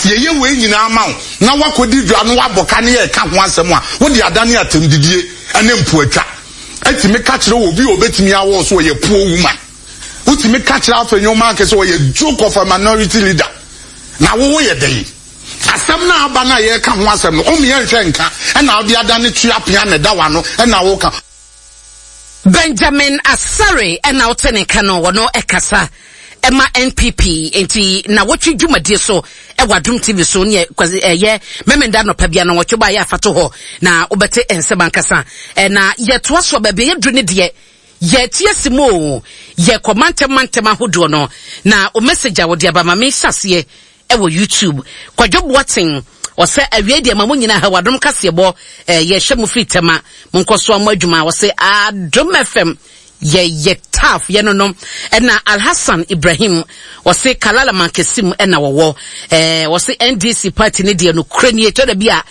yɛyɛ wei nyinaa ma wo na woakɔdi dwa na woabɔ ka ne yɛreka ho asɛm a, wode adane atɛmdidie ne mpoatwa. Ɛtumi ka kyerɛ obi a ɔbɛtumi awɔ so ɔyɛ poor woman. Wotumi ka kyerɛ Afenyo-Mark sɛ ɔyɛ joke of a minority leader. Na wo woyɛ dɛn? Asɛm no a aba no a yɛreka ho asɛm no, ɔmo yɛnhwɛ nka ɛna wode adane tua pea na ɛda w'ano ɛna woka. Benjamin Asare na wote ne nka no, wɔno ɛkasa ɛma NPP nti na wɔtwe dwumadie so ɛwɔ Adom TV so ne ɛyɛ Memenda nɔpa bia na wɔtwe ba yɛ afato hɔ na wobɛte nsɛm ankasa na yɛtoa so baabi yɛduru ne deɛ yɛte asi mu o yɛkɔ mantam mantam ahodoɔ no na o message a wɔde aba ma me hyɛ aseɛ Ɛwɔ YouTube. Kwadwo Boateng, ɔsɛ awiei deɛ ma mo nyinaa ha wɔ Adom kaseɛbɔ eh, yɛhwɛ mo firi Tema, monkɔ so mo adwuma. Ɔsɛ Adom FM yɛ yɛ tough yɛ no no. Ɛna Alhassan Ibrahim, ɔsɛ Kalala Mankesim ɛna wɔwɔ. Eh, ɔsɛ NDC party ne deɛ no kura nie, tɔ da bi a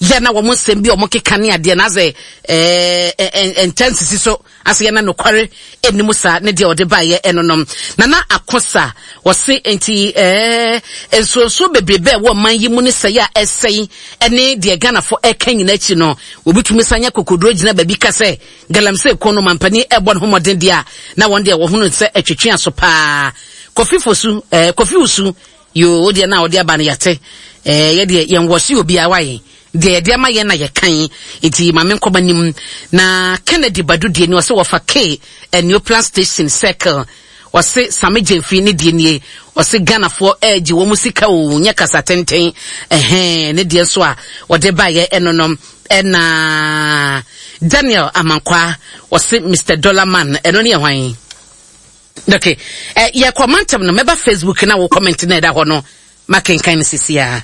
yɛ na wɔn nsɛm bi a wɔn keka ne adeɛ na asɛ eh, eh, ntɛnsisi so. Ase yɛ na nokware nni mu saa ne deɛ ɔde baeɛ ɛno nom. Nana Akosa, ɔse nti ɛɛ nsuonsuo bebrebe a ɛwɔ ɔman yi mu ne sɛe a ɛsɛe ɛne deɛ Ghanafo ɛka nyina akyi no, obi tumi san nya kokoduro gyina baabi ka sɛ galamsey ko no mampanin ɛbɔ ne ho mmɔden deɛ a na wɔn deɛ wɔhunu sɛ ɛtwetwe aso paa. Kofi Fosu, ɛɛ Kofi Wusu, yoo wo deɛ na ɔde aba no yɛate, ɛɛ yɛ deɛ yɛn wɔse obiara wae. Deɛ yɛde ama yɛn na yɛkan, nti ma menkɔ m'anim. Na Kennedy Badu deɛ ni, ɔse wɔfa K Neoplan Station Circle. Ɔse Same Gyamfi ne deɛ nie, ɔse Ghanafoɔ ɛregye wɔn sika o, nyɛ kasa tenten. Ɛhɛn, ne deɛ nso a ɔde baeɛ ɛno no. Ɛna Daniel Amankwaa, ɔse Mister Dollar Man, ɛno ne yɛ hwan? Okay, eh, yɛkɔ mantam no, mɛba Facebook na wo comment na ɛda hɔ no, makenkan no sisi a.